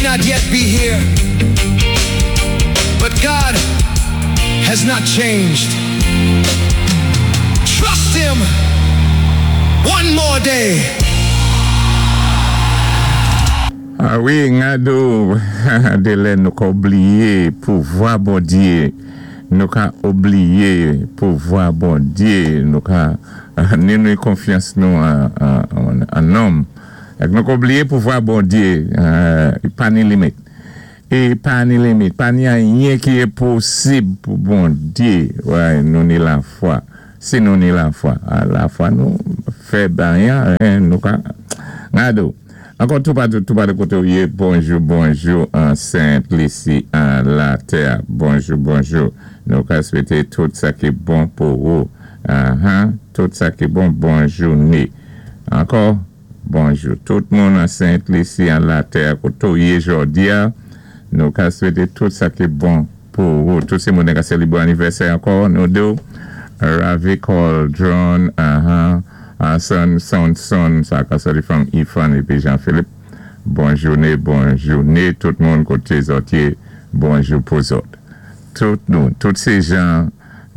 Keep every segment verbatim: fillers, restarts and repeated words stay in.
not yet be here, but God has not changed. Trust Him one more day. A wi, ngado, dé lè nou ka oubliyé pouvwa Bondyé, nou ka oubliyé pouvwa Bondyé, nou ka ni nou konfyans nou an, an nonm. Èk nou ka oubliyé pouvwa Bondyé, pa ni limit. É pa ni limit, pa ni anyen ki enposib pou Bondyé, wè, nou ni lafwa. Si nou ni lafwa, lafwa nou fèb anyen, nou ka, ngado. Ankò tou patou, tou patou koté ou yé, bonjou, bonjou, an Sent-Lisi, an latè, bonjou, bonjou. Nou ka swété tout sa ki bon pou ou. Uh-huh, tout sa ki bon, bon jouné. Ankò, bonjou. Tout moun an Sent-Lisi, an latè, koté ou yé jòdi a, nou ka swété tout sa ki bon pou ou. Tout sé moun ka sélibré anivèsè ankò, nou di ou, Ravi Cauldron, uh-huh, Son, son, son, sa ka soti from Ifan épi Jean-Philippe. Bon jouné, bon jouné, tout moun koté zòt yé, bonjou pou zòt. Tout nou, tout sé jan,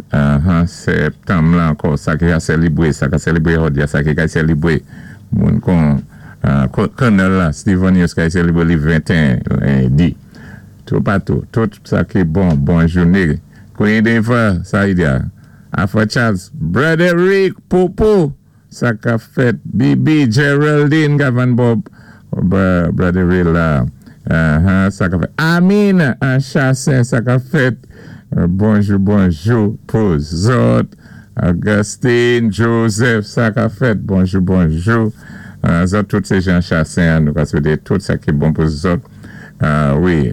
uh-huh, septanm la ankò, sa ki ka sélibré, sa ka sélibré jòdi a, sa ki ka sélibré, moun kon, Colonel la, Steven Yos ka sélibré li venteyen, lendi. Tout patou, tout sa ki bon, bon jouné. Kwenye den sa yi dia, Afra Charles, Brother Rick, Popo, sa ka fèt, Bibi, Geraldine, Gavan Bob, Brother Rick la, sa ka fèt, Amin, an Chassin, sa ka fèt, bonjou, bonjou, pou zòt, Augustine, Joseph, sa ka fèt, bonjou, bonjou, zòt tout sé jan Chassin, nou ka swété tout sa ki bon pou zòt, wi,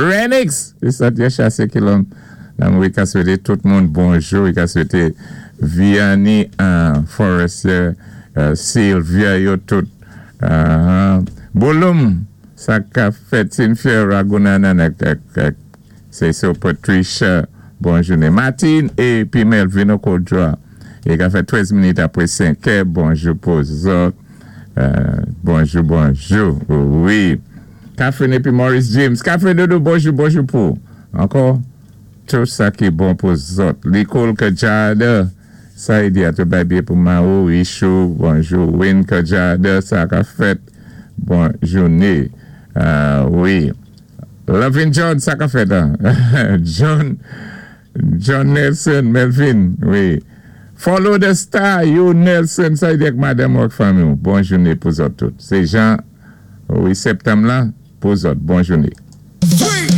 Renix, sa dié Chassin ki lon, nan wi ka swété tout moun bonjou, wi ka swété Vianney Forestier, Sylvia yo tout, Bolum, sa ka fèt, Cynthia Ragunanan, se so Patricia, bonjou. Martin épi Melvin Okodra, é ka fè trèz minit apwé senkè, bonjou pou zòt, bonjou, bonjou, wi. Catherine épi Maurice James, Catherine Dodo, bonjou, bonjou pou. Ankò, tout sa ki bon pou zòt. Nicole Kajada, sa yi di a tou bay biyé pou Mao, Ishou, bonjou. Win Kajada, sa ka fèt, bon jouné. Wi. Lovin John, sa ka fèt, John, John Nelson, Melvin, wi. Follow the star, you Nelson, sa yi di ak madame wak fanmi. Bon jouné pou zòt tout. Sé jan, wi, septanm la, pou zòt, bon jouné.